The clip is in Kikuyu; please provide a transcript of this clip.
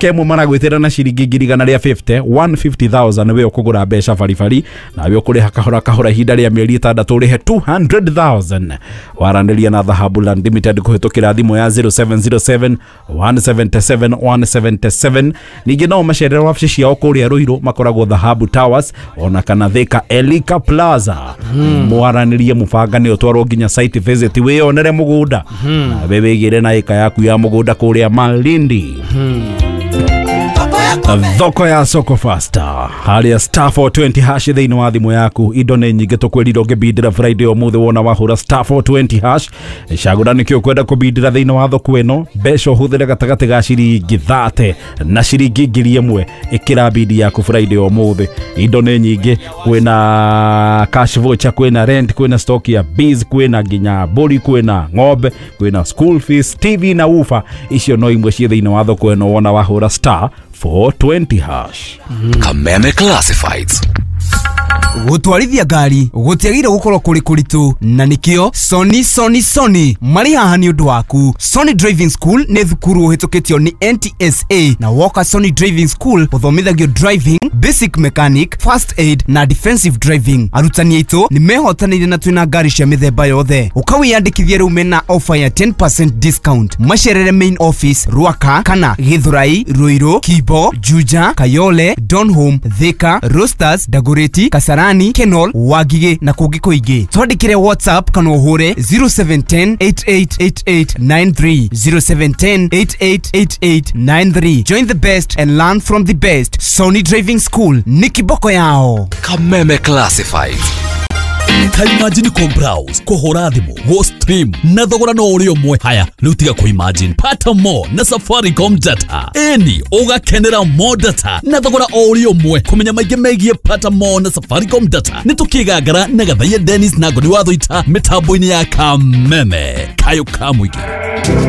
Kemwe maragwĩtĩra na ciringi 150,000 150,000 we ũkũgũra mbeca baribari nawe ũkũrĩha kahora kahora ihinda rĩa mĩeri 6 ũrĩhe 200,000. Waranĩria na Dhahabu Land Limited kũhĩtũkĩra thimũ ya 0707 177 177. Ningĩ no macerere wabici ciao kũrĩa Ruiru, makoragwo Dhahabu Towers ona kana Thika Elika Plaza. Mwaranĩrie mũbangane ũtwarwo nginya site visit wĩyonere mũgũnda nawe wĩgĩre na ĩka yaku ya mũgũnda kũrĩa Malindi. Thoko ya soko fasta harĩa star 420 hash thĩinĩ wa thimũ yaku, indo nĩ nyingĩ tũkwĩrire ũngĩbindĩra Friday ũmũthĩ wona wahũra star 420 hash. Cagũra nĩkĩ ũkwenda kũbindĩra thĩinĩ wa thoko ĩno, mbeca ũhũthĩre gatagatĩ ga ciringi 30 na ciringi 1000. Ĩkĩra bidi yaku Friday ũmũthĩ, indo nĩ nyingĩ, kwĩna cash voucher, kwĩna rent, kwĩna stock ya bees, kwĩna nginya mbũri, kwĩna ng'ombe, kwĩna school fees, TV na woofer. Icio no imwe ciĩ thĩinĩ wa thoko ĩno wona wahũra star 420 hash. Kameme Classifieds. Gũtwarithia ngari gũtiagĩrĩire gũkorwo kũrĩ kũritũ, na nĩkĩo Sony Sony Sony marĩ haha nĩ ũndũ waku. Sony Driving School nĩ thukuru ũhĩtũkĩtio nĩ NTSA, na woka Sony Driving School ũthomithagio driving, basic mechanic, first aid na defensive driving. Arutani aitũ nĩ mehotanĩire na twĩna ngari cia mĩthemba yothe. Ũkawĩyandĩkithia rĩu mena offer ya 10% discount. Macerere main office Ruaka kana Githurai, Ruiru, Kibo, Juja, Kayole, Donholm, Thika, Roasters, Dagoretti, Kasarani, Kenol, Wangigĩ na kũngĩ kũingĩ. Twandĩkĩre WhatsApp kana ũhũre 0710 888893, 0710 888893. Join the best and learn from the best. Sony Driving School nĩ kiboko yao. Kameme Classifieds. Ta imagine ko browse, kũhũra thimũ, go stream na thogora no ũrĩ ũmwe. Haya rĩu tiga kũ imagine, pata more na Safaricom data. Ĩni ũgakenera more data na thogora o ũrĩ ũmwe. Kũmenya maingĩ megiĩ pata more na Safaricom data nĩ tũkĩgangara na Gathaia Dennis na Ngoni wa Thũita mĩtambo-inĩ ya Kameme kayũ ka mũingĩ.